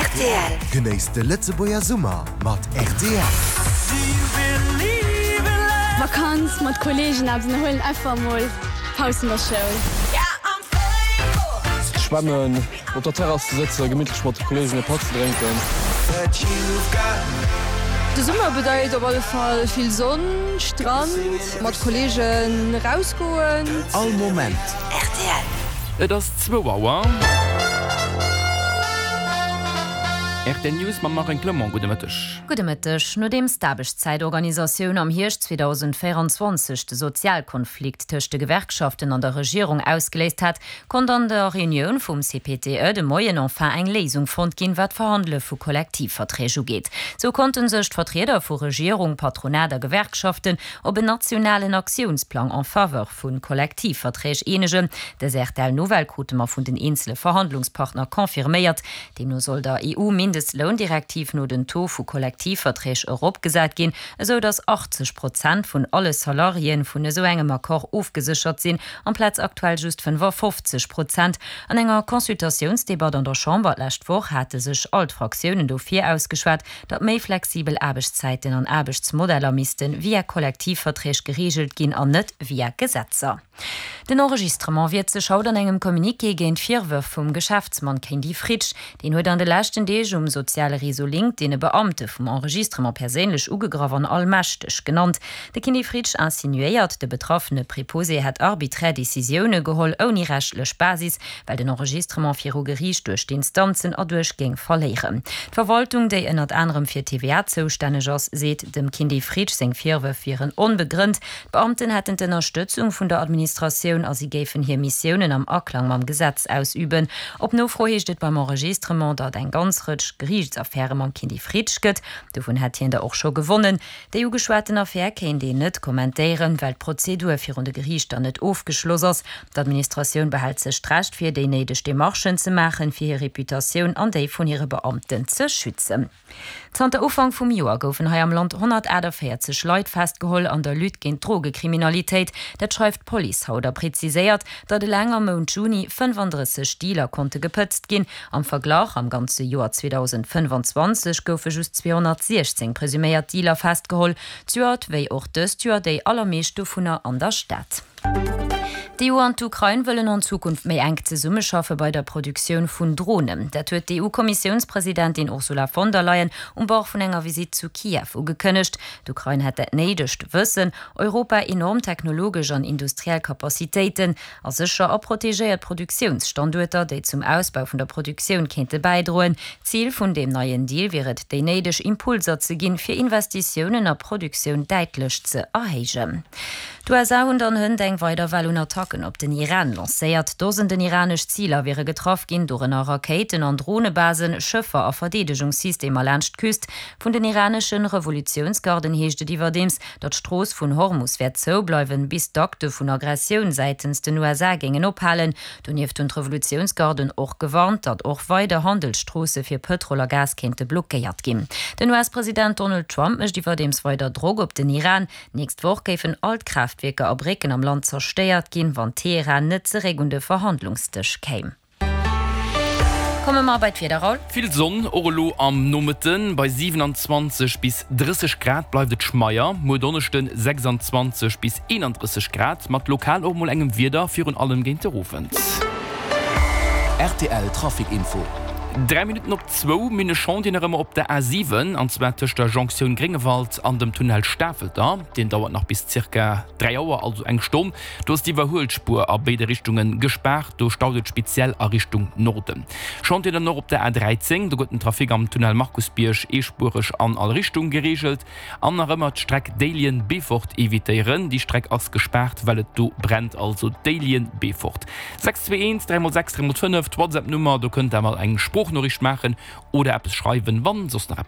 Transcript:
Rtl. Genéisst de Lëtzebuerger Summer mat rtl. Vakanz mat Kollegen eppes ënnerhuelen, einfach mol Paus vun der Schoul. Schwämmen, op der Terrass ze sëtzen, gemittlech mat de Kollegen e Patt ze drénken. De Summer bedeit op alle Fall vill Sonn, Strand, mat Kollegen erausgoen. All Moment. Rtl. Et ass zwou Auer. Rtl News mam Marine Clement. Gudde Mëtteg. Gudde Mëtteg. Nodeems d'Aarbechtszäitorganisatioun am Hierscht 2024 de Sozialkonflikt tëscht de Gewerkschaften an der Regierung ausgeléist hat, konnt an der Reunioun vum CPTE de Moien enfin eng Léisung fonnt ginn, wat d'Verhandele vu Kollektivverträg ugeet. Sou konnte sech d'Vertrieder vu Regierung, Patronat a Gewerkschaften op en nationalen Aktiounsplang en faveur vu Kollektivverträg eenegen. Dës RTL-Nouvelle krute mer vun den eenzele Verhandlungspartner confirméiert. Deemno soll der EU-Mindestloundirektiv no den Taux vu Kollektivverträg eropgesat ginn, esou datt 80 Prozent vun alle Salariéen vun esou engem Accord ofgeséchert sinn, amplaz aktuell just 55 Prozent. An enger Consultatiounsdebatt an der Chamber d'lescht Woch hate sech all d'Fraktiounen dofir ausgeschwat, datt méi flexibel Aarbechtszäiten an Aarbechtsmodeller misste via Kollektivverträg gereegelt ginn an net via Gesetzer. Den Enregistrement wiert sech haut an engem Communiqué géint d'Virwërf vum Geschäftsmann Kendy Fritsch. Deen huet an de leschten Deeg um soziale Réseau LinkedIn e Beamte vum Enregistrement perséinlech ugegraff an allmächteg genannt. De Kindy Fritsch insinuéiert, de betraffene Preposé hätt arbiträr Decisioune geholl ouni rechtlech Basis, well den Enregistrement viru Geriicht duerch d'Instanzen erduerch géing verléieren. D'Verwaltung, déi ënnert anerem fir d'TVA zoustänneg ass, seet, dem Kindy Fritsch seng Virwërf wieren onbegrënnt. D'Beamten hätten d'Ënnerstëtzung vun der Administratioun a si géifen hir Missiounen am Aklang mam Gesetz ausüben. Op Nofro heescht et beim Enregistrement, datt eng ganz Rëtsch Geriichtsaffäre mam Kindy Fritsch gëtt. Dovun hätt hien der och scho gewonnen. Déi ugeschwaten Affär kéint een net kommentéieren, well d'Prozedur virun de Geriichter net ofgeschloss ass. D'Administratioun behält sech d'Recht vir, déi néideg Demarchen ze maachen, fir hir Reputatioun an déi vun hire Beamten ze schützen. Zanter Ufank vum Joer goufen hei am Land 148 Leit festgeholl an der Lutte géint d'Drogekriminalitéit. Dat schreift d'Police haut a preziséiert, datt eleng am Mount Juni 35 Dealer konnte gepëtzt ginn. Am Verglach, am ganze Joer 2025 goufe just 216 presuméiert Dealer festgeholl, d'Joert wéi och dëst Joer déi allermeescht dovunner an der Stad. D'EU an d'Ukrain wëllen an Zukunft méi enk zesummeschaffe bei der Produktioun vun Dronen. Dat huet d'EU-Kommissiounspresidentin Ursula von der Leyen um Bord vun enger Visitt zu Kiew ugekënnegt. D'Ukrain hätt dat néidegt Wëssen, Europa enorm technologesch an industriell Capacitéiten, A sécher a protegéiert Produktiounsstanduerter, déi zum Ausbau vun der Produktioun kéinte bäidroen. Zil vun deem neien Deal wier et, déi néideg Impulser ze ginn, fir Investitiounen a Produktioun däitlech ze erhéijen. D'USA hunn dann hënt eng weider Well un Attacken op den Iran lancéiert. Dosenden iranesch Ziler wiere getraff ginn, dorënner Rakéiten an Dronebasen, Schëffer a Verdeedegungssystemer laanscht d'Küst. Vun den iranesche Revolutiounsgarden heescht et iwwerdeems, Datt d'Strooss vun Hormus wäert zoubleiwen, bis d'Akte vun Aggressioun säitens den USA géingen ophalen. Donieft hunn d'Revolutiounsgarden och gewarnt, datt och weider Handelsstroosse fir Pëtrol a Gas kéinte blockéiert ginn. Den US-President Donald Trump mécht iwwerdeems weider Drock op den Iran. D'nächst Woch géifen all d'Kraaftwierker a Brécken am Land zerstéiert ginn, wann Teheran net zeréck un de Verhandlungsdësch kéim. Komme mer bei d'Wieder, Raoul. Vill Sonn och elo am Nomëtten, bei 27 bis 30 Grad bleift et schmeier. Muer Donneschden 26 bis 31 Grad, mat lokal och mol engem Wieder, virun allem géint de Owend. Rtl Trafic Info. 3 Minutten op zwou, Mir hunn e Chantier nach ëmmer op der A7, an zwar tëscht der Jonktioun Gréngewald an dem Tunnel Stafelter. Deen dauert nach bis zirka 3 Auer, also eng Stonn. Do ass d'Iwwerhuelspuer a béide Richtunge gespaart, do staut et speziell a Richtung Norden. Chantier dann och op der A13, do gëtt den Trafic am Tunnel Markusbierg eespuereg an all Richtung gereegelt. An nach ëmmer d'Streck Déiljen-Beefort evitéieren, déi Streck ass gespaart, well et do brennt, also Déiljen-Beefort. 621 3 x 6 3 x 5, d'Whatsapp-Nummer, do kënnt der mol eng Sproochnoriicht maachen oder eppes schreiwen, wann soss nach eppes.